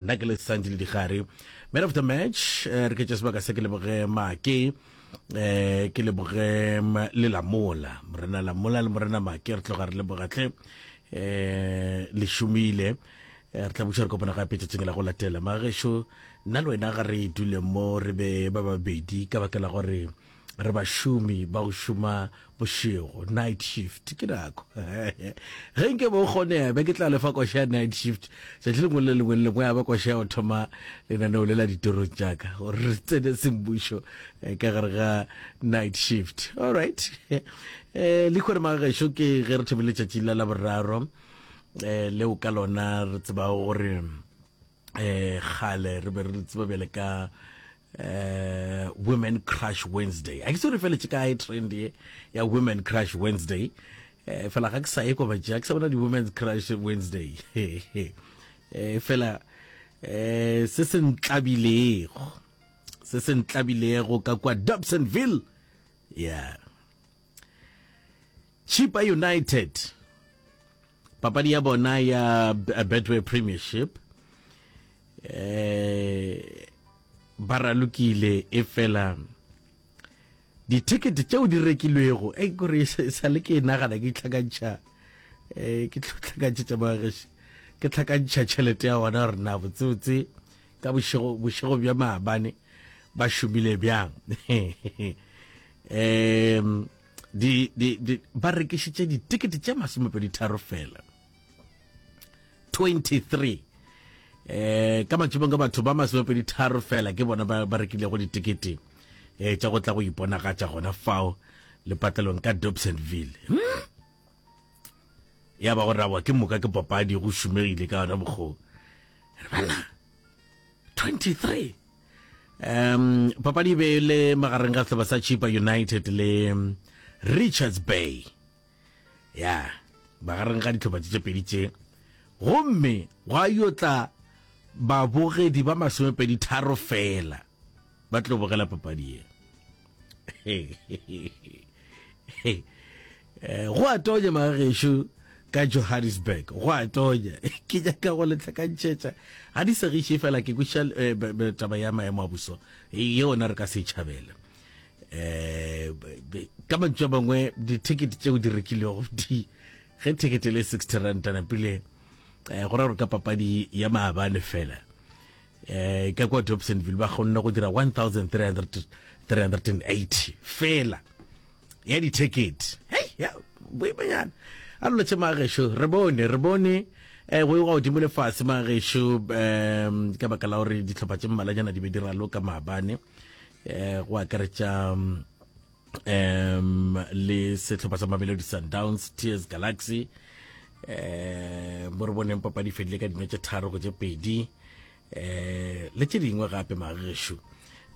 Nna ke le Sandy le Digare. Man of the match, eh, re ke tše sebaka se ke leboge Make, eh, ke leboge le Lamola. Morena Lamola le Morena Make re tloga re leboga tle. Eh, le šomile. Eh, re tla buša re kopana gape tšatšing la go latela. Magešo, nna le wena ga re dule mo re be ba babedi ka baka la gore re bašomi ba go šoma bošego, night shift. Ke nako ge nke bo kgonega be ke tla lefa koša ya night shift tšatši lengwe le lengwe le lengwe, ya ba koša ya go thoma lenaneo le la ditorong tša ka gore re tsene semmušo eh, ka gare ga night shift. All right, eh, lekhore magagešo ke ge re thomile letšatši la Laboraro eh, leo ka lona re tsebago gore eh kgale re be re tseba bjale ka eh Women Crush Wednesday. A ke se re feletše kae trend ye ya Women Crush Wednesday? Eh fela ga ke sa ye kwa batšea, ke sa bona di Women's Crush Wednesday. Eh fela eh se se ntlabilego, se se ntlabilego ka kwa Dobsonville, yeah, Chippa United, papadi ya bona ya Betway Premiership, eh ba ralokile, e fela dithekete tšeo di rekilwego e kore sa le ke nagana ke tlhakantšha, eh ke tlhakantšha magageši, ke tlhakantšha tšhelete ya gona gore na botsebotse ka bošego bošego bja maabane ba šomile bjang. Um di, di, di, ba rekišitše ditikete tše 23 fela, 23, eh ka matšhomong ka batho ba 23 fela ke bona ba, ba rekilego ditikete eh tša go tla go iponagatša gona fao lepatlelong ka Dobsonville, Ya ba go rawa ke moka ke papadi go šomegile ka yona mokgoo re bana 23. Papadi e be e le magareng ga sehlopha sa Chippa United le Richards Bay, ya magareng ga dihlopha tše tše pedi tše, gomme gwa yo tla babogedi ba 23 fela ba tlo bogela papadi ye. Eh, go a tonya magagešo ka Johannesburg, go a tonya. Ke nyaka go le tlhakantšhetša ga di segiše fela ke kweša eh, taba ya maemo a boso yona re ka se tšhabele. Um ka mantšu a mangwe, dithekete tšeo di rekilego di ge thekete le 60 rand napile, um go ra gore ka papadi ya maabane fela um ka kwa Dobsonville ba kgonne go dira 1380 fela ya dithekete. Hei ya boimanyana a lolo tše magešo, re bone re bone eh go go godimo lefase magešo, um ka baka la gore dihlopha tše mmalwanyana di be di raloka maabane, eh go akaretša um le sehlopha sa Mamelodi Sundowns, Tears Galaxy, eh mo re boneng papadi fedile ka dino tše 3 go tše 2, eh le tše dingwe gape magešo.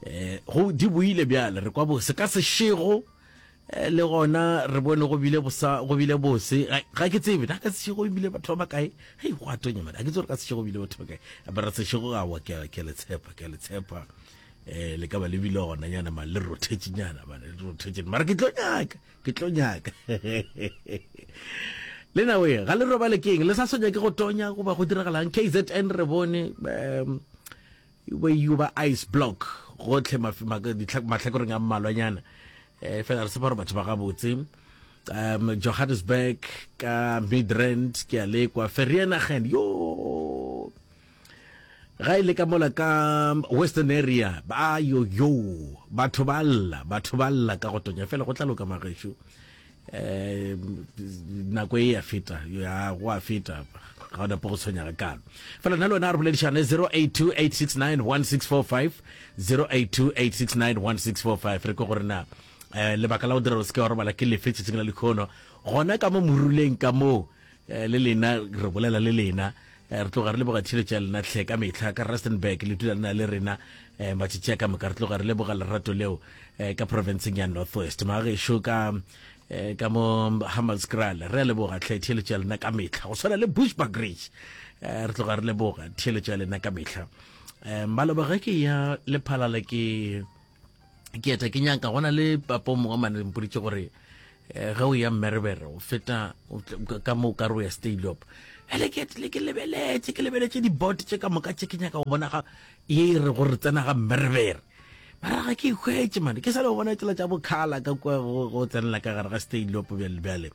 Eh go di buile bjale re kwa bose ka sešego, eh, le gona re bone go bile bosa, go bile bose. Ga ke tsebe na ka sešego e bile batho ba bakae. Hei, go a tonya mane, ga ke tsebe gore ka sešego bile batho ba kae, ba re sešego ga wa ke ke le tshepa, ke le tshepa, eh le ka ba le bile gona nyana ma le rothetše nyana ba le rothetše, mara ke tlo nyaka, ke tlo nyaka le na we ga le robale keng le sa sonya ke go tonya goba go diragalang KZN. Re bone um ba yo ba ice block gotlhe mahlakoreng a mmalwanyana, um fela re tshepa gore batho ba gabotse. Johannesburg ka Midrand ke a lekwa Vereeniging yo ga e le ka mola ka Western area ba yo yo batho ba lla, batho ba lla ka go tonya fela. Go tla loka magešo, um nako e ya feta, ya go a feta, ga o napo go tshwenya ga kalo fela. Nna le wena a re boledišane 0828691645, 0828691645, re ke gore na um lebaka la go dira gore se ke wa robala ke lefe tšatšing la lekgono gona ka mo moruleng ka moo. Eh, le lena re bolela le lena, eh, re tloga re leboga tšhiretšo ya lena tlhe ka mehla ka Rustenburg, le dula lena le rena eh, matšatši a ka moka. Re tloga re leboga lerato leo ka provinceng ya North West, magešo ka ka mo Hammanskraal, re a leboga tlhe tšhiretšo ya lena ka mehla, go swana le Bushbuckridge, re tloga re leboga tšhiretšo ya lena ka mehla. Maloba ge ke ya Lephalale ke ke eta ke nyaka gona le papa o mongwe mane mpoditše gore, eh, ge o ya Mmerebere o feta ka mo ka re o ya Stalop. Ele ke tlile ke lebeletše, ke lebeletše di-bot tše ka moka tše ke nyaka go bona ga ye e re gore tsena ga mmerebere. Mara ga ke ikhwetše mane, ke sa le go bona tsela tša bokhala ka kua go go tsenela ka gare ga Steyloop bjale bjale.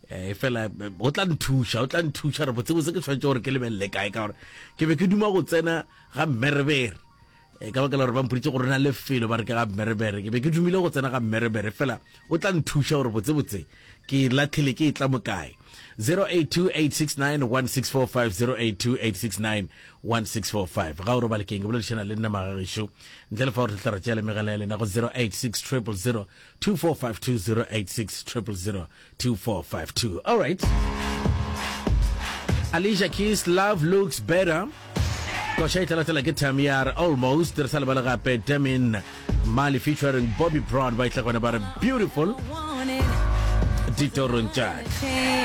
Eh, fela o tla nthuša, o tla nthuša re botsebotse ke tshwanetse gore ke lebelele kae ka gore ke be ke duma go tsena ga mmerebere. E, ka baka la gore ba mpoditše gore na lefelo ba re ke ga mmerebere ke be ke dumile go tsena ga mmerebere fela o tla nthuša gore botsebotse ke latlhile ke e tla mo kae. 0828691645 0828691645 ga o robale keng ke boledišana le nna magagešo ntle le fa gore tla re tšea le megala ya lena go 086 000 2452 086 000 2452 all right. Alicia Keys Love Looks Better. Koša e tla latela ke Tamiar Almost. Re sa lebale gape Demin Mali featuring Bobby Brown ba itla gona ba re Beautiful ditorong tša.